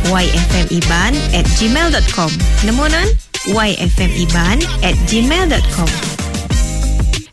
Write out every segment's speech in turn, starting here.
Yfmiban at gmail dot com. Nemu nan? Yfmiban at gmail dot com.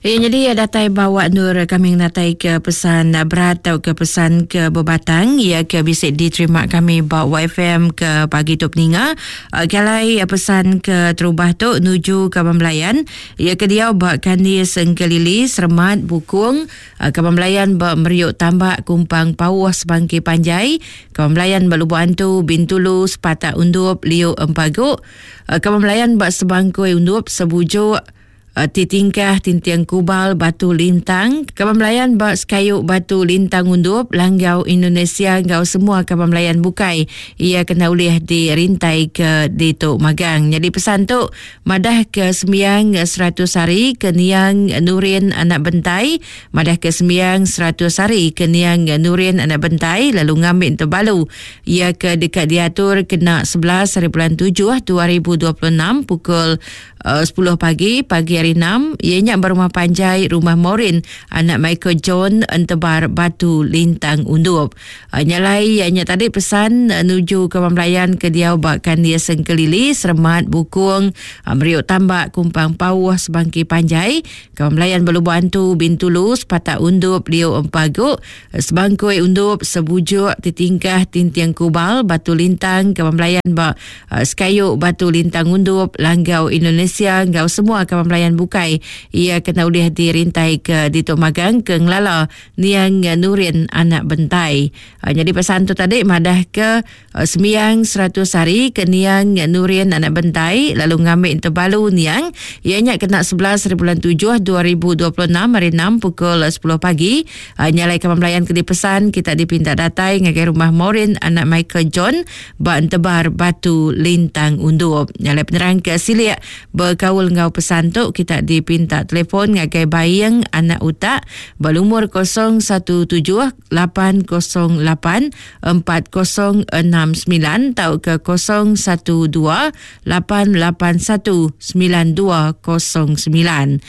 Ya, jadi datai bawa nur kami natai ke pesan berat atau ke pesan ke bebatang ya ke bisa diterima kami ba YFM ke pagi tu peninga. Kalai pesan ke terubah tu nuju ke Belayan ya ke diau ba Kandi Sengkelili Sermat Bukung Kaban belayan ba Meriuk Tambak Kumpang Pauh Sebangki Panjai, Kaban belayan ba Lubok Antu Bintulu Sepatak Undup Liu Empagu, Kaban belayan ba Sebangkoi Undup Sebujuk Ti Tingkah Tinting Kubal Batu Lintang, Kaban belayan ba Sekayu Batu Lintang Undup Langgau Indonesia enggau semua kaban belayan bukai iya kena ulih dirintai ke ditu magang. Nyadi pesan tu Madah ke sembiang 100 hari ke niang Nurin anak Bentai Madah ke sembiang 100 hari ke niang Nurin anak Bentai lalu ngambi Tebalu iya ke deka diatur kena 11 hari bulan 7 2026 pukul 10 pagi pagi hari 6 iya nya ba rumah panjai Rumah Morin anak Michael John Entebar Batu Lintang Undup. Nya alai nya tadi pesan nuju ke belayan ke diau ba Kandis Sengkelili, Seremat, Bukung, Meriuk Tambak, Kumpang Pauh, Sebangki Panjai, ke belayan ba Lubok Antu, Bintulu, Sepatak Undup, Liu Empagu, Sebangkoi Undup, Sebujuk, Titingkah, Tinting Kubal, Batu Lintang, ke belayan ba Sekayu, Batu Lintang Undup, Langgau Indonesia enggau semua kaban belayan bukai iya kena ulih dirintai ke ditu magang ke ngelala Niang Nurin anak Bentai. Nyadi pesan tu tadi madah ke sembiang 100 hari ke Niang Nurin anak Bentai lalu ngambi tebalu Niang iya nya kena 11 hari bulan 7 2026 hari 6 pukul 10 pagi. Nya alai kaban belayan ke dipesan kita dipinta datai ngagai rumah Maureen anak Michael John ba Entebar Batu Lintang Undup. Nya alai penerang ke silik bekaul enggau pesan tu kita dipinta telefon ngagai Baing anak Utak ba lumur 017 808 4069 tauka 012 881 9209.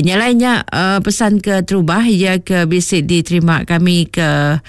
Nya alai nya pesan ke terubah iya ke bisi diterima kami ke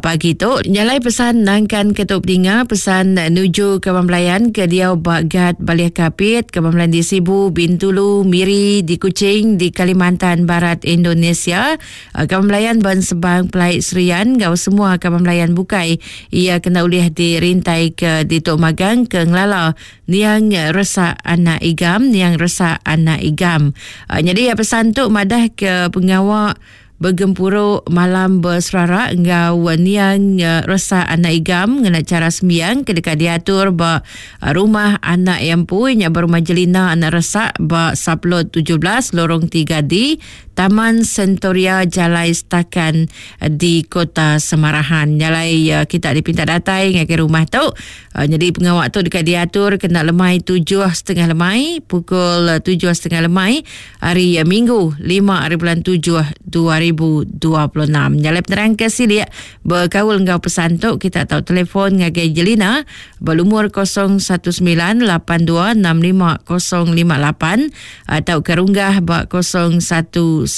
pagi tu. Nya alai pesan nangkan ke tu pedinga pesan nuju ke belayan ke diau ba Gat Balih Kapit, ke belayan di Sibu, Bintulu, Miri, di Kuching, di Kalimantan Barat Indonesia, ke belayan ba Ensebang Pelai Serian enggau semua kaban belayan bukai iya kena ulih dirintai ke ditu magang ke ngelala niang resak anak Igam, niang resak anak Igam. Nyadi pesan tu madah ke pengawa Begempuru malam beserara enggau niang Resa Anak Igam ngena chara sembiang ke deka diatur ba rumah anak iya empu nya ba Rumah Jelina Anak Resa ba Sublot 17 Lorong 3D Taman Sentoria Jalai Stakan di Kota Samarahan. Nya alai kita dipinta datai ngagai rumah tu. Nyadi pengawa tu deka diatur kena lemai 7.30 lemai pukul 7.30 lemai hari Minggu 5 hari bulan 7 2026. Nya alai penerang ke silik bekaul enggau pesan tu kita tau telefon ngagai Jelina ba lumur 0198265058 atau ke runggah ba 0111780292.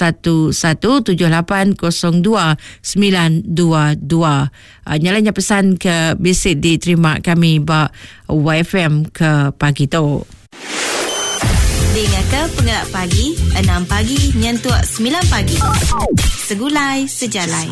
Nya alai nya pesan ke bisi diterima kami ba YFM ke pagi tu. Dingaka pengelak pagi, 6 pagi nyentuk 9 pagi. Segulai sejalai.